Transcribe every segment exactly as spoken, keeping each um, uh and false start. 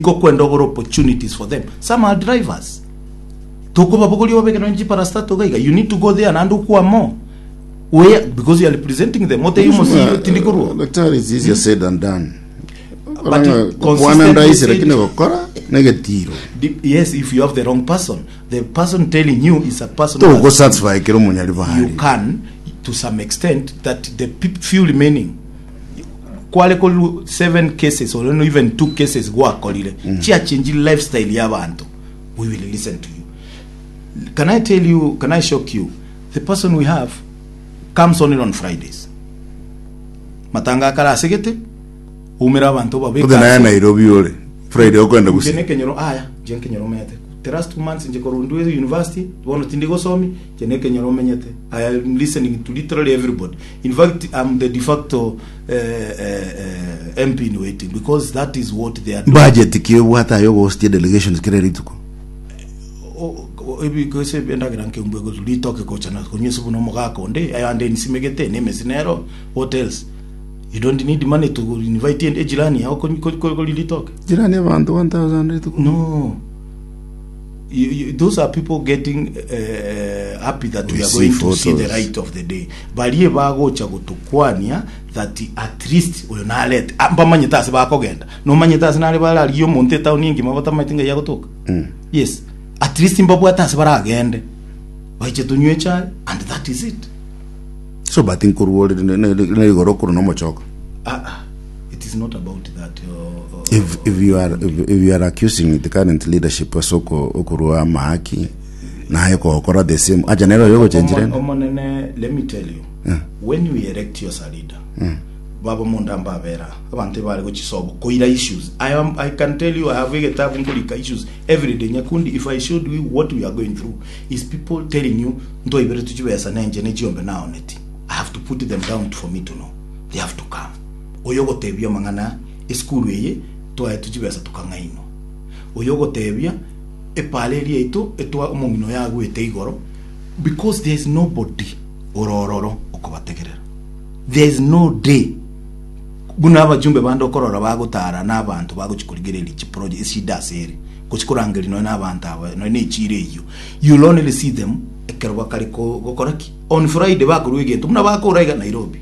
Gokwenda ogore opportunities for them. Some are drivers. Tokobabogoria obabeke nonye chiparastato iga iga. You need to go there naende okwama where because you are representing them. Otebie omosio tindi korwa. Daktari, it's easier said than done. But Koranga- consistently Kwana ndaisi said- lakini gokora negetiro. Di- Yes, if you have the wrong person. The person telling you is a person who Toko has- satisfy kero munyali you bahari. can to some extent that the peop- few remaining kware koru seven cases or no even two cases gwakorire chiachenji lifestyle ya abanto we will listen to you can i tell you can i shock you the person we have comes only on fridays matanga akare asegete umera abanto babeka Othe naye Nairobi ore. Friday okwenda Nche gusi. nekenyoro aya nche nkenyoro menyete the last two months nche korwa university bono tindi gosomi nche nekenyoro menyete i am listening to literally everybody in fact i'm the de facto uh, uh, uh, mp in waiting because that is what they are doing Budget ki obwata ayo gostie delegations kere rituko. O- o- ebi gose endagera nkembwe gotu ritoke kocha na konywa buno omogaka onde ayande nsimegete nemesi nero what else you don't need money to invite ejirani yao kori ritoke Jirani abantu one thousand rituko. No. You, you, those are people getting uh, happy that we, We are see going to see the photos. right of the day. Barie bagocha gotukwania that at least oyo narete Ah, mbamanyete ase bakogenda nomanyete ase nare bararigia omonto etown engima batamanyete ng'ai agotoka yes at least mbabwate ase baragende baiche tonywe echae and that is it So but nkoruore ne rigoro kuru no mochoko. ah, ah, it is not about that uh, uh, If if you are if, if you are accusing the current leadership asoko okurua mahaki naye kokora the same acha nero yogo chenjirene. Omonene, let me tell you when we elect you as a leader baba munda mbabera abantu bari gochisobo koira issues I, am, i can tell you i have egetabu nkorika issues every day nyakundi if i showed you what we are going through is people telling you ntoibere tuchibesa nenje nechiombe naoneti i have to put them down for me to know they have to come oyo gotebia mang'ana esukuru eye twae tuchibesa tukang'ainwa oyo ogotebia epara eria yaito etwa omong'ina yagwete igoro because there is nobody orororo okobategerera there is no day buna abajumbe bande okorora bagotara na abanto bagochikorigereria chiproject eshida ase ere gochikorangeria nonya na abanto aba nonya na echiro eywo you'll only see them ekero bakare ko- gokora ki on friday bakorwa egento buna bakora iga nairobi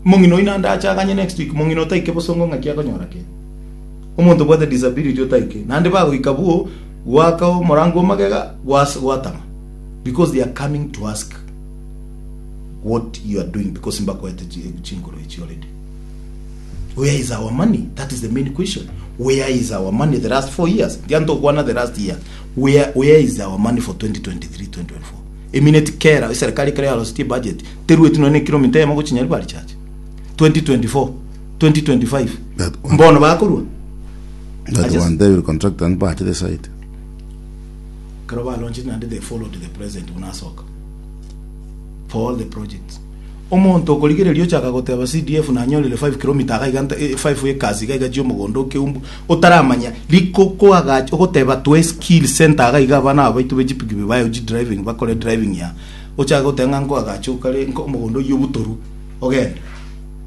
mong'ina oino ande achaganye next week mong'ina otaike bosongo ng'aki akonyora kende omonto obwate disability otaike naende bagoika buo gwaka omorango omagega gwas- gwatama because they are coming to ask what you are doing because mbakoete chi- chinkoro echi already where is our money that is the main question where is our money the last four years ndiantokwana the last year where, where is our money for twenty twenty-three twenty twenty-four eminute kera eserikali kera yarositie budget terueti nonye kilomita eyemo gochinyari bari chache twenty twenty-four twenty twenty-five That one. mbono bakorwa That I just- one they will contract and back the site. Kero balonchire naende they followed the president buna asoka for all the projects omonto okorigereria ochaka goteba C D F nanyorire five kilometer iga iga nta- eh, five acres iga iga chia omogondo okeumbu otaramanya riko koagacha ogoteba twe skill center iga iga abana aba baito be chipikipiki bayo chi driving bakore driving ya ochake goteba ng'a nkoagacha okare nko omogondo oywo obutoru ogende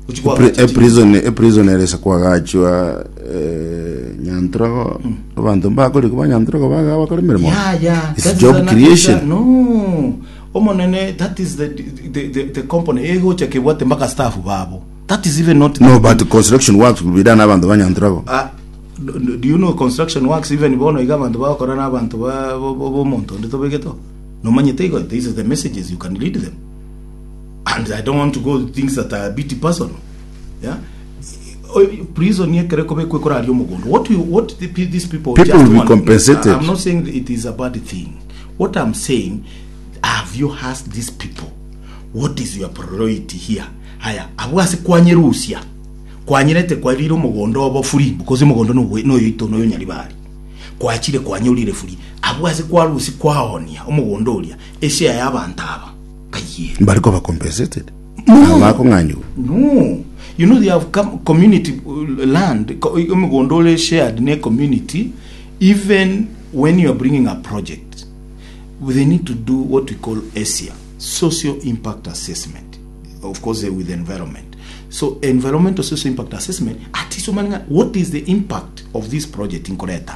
ochie koagacha E chi- prison e prison eresa kwagachwa eh, nyantrogo abanto mbakori kuba nyantrogo baga bakora emirimo. Yeah, yeah. It's That is job an- creation. No. Omonene, that is the the the, the company egocha kebwate mpaka staff babo. That is even not No, but construction works will be done abantu ba nyantrogo. Uh, do, do you know construction works even bono iga abantu bakora n'abantu ba bo- bo- bomonto onde tobegeto nomanyete igo these are the messages you can lead them and i don't want to go things that are a bit personal yeah O- prison yekere kobekwe koraria omogondo what we, what the, pe- these people People just will be want- compensated. i'm not saying it is a bad thing what i'm saying have you asked these people what is your priority here haya abwo ase kwanyerusia kwanyerete kwarire omogondo obo free because omogondo noyoito noyo nyaribari kwachire kwanyorire free abwo ase kwarusi kwaonia omogondo oria eshare y'abanto aba kayiere Bariko ba compensated. No. Abakong'anywa. No. You know they have come community uh, land, co- omogondo ore shared ne community. Even when you are bringing a project, they need to do what we call ESIA, social impact assessment, of course eh, with the environment. So environmental social impact assessment atiso manenga what is the impact of this project inkoreta.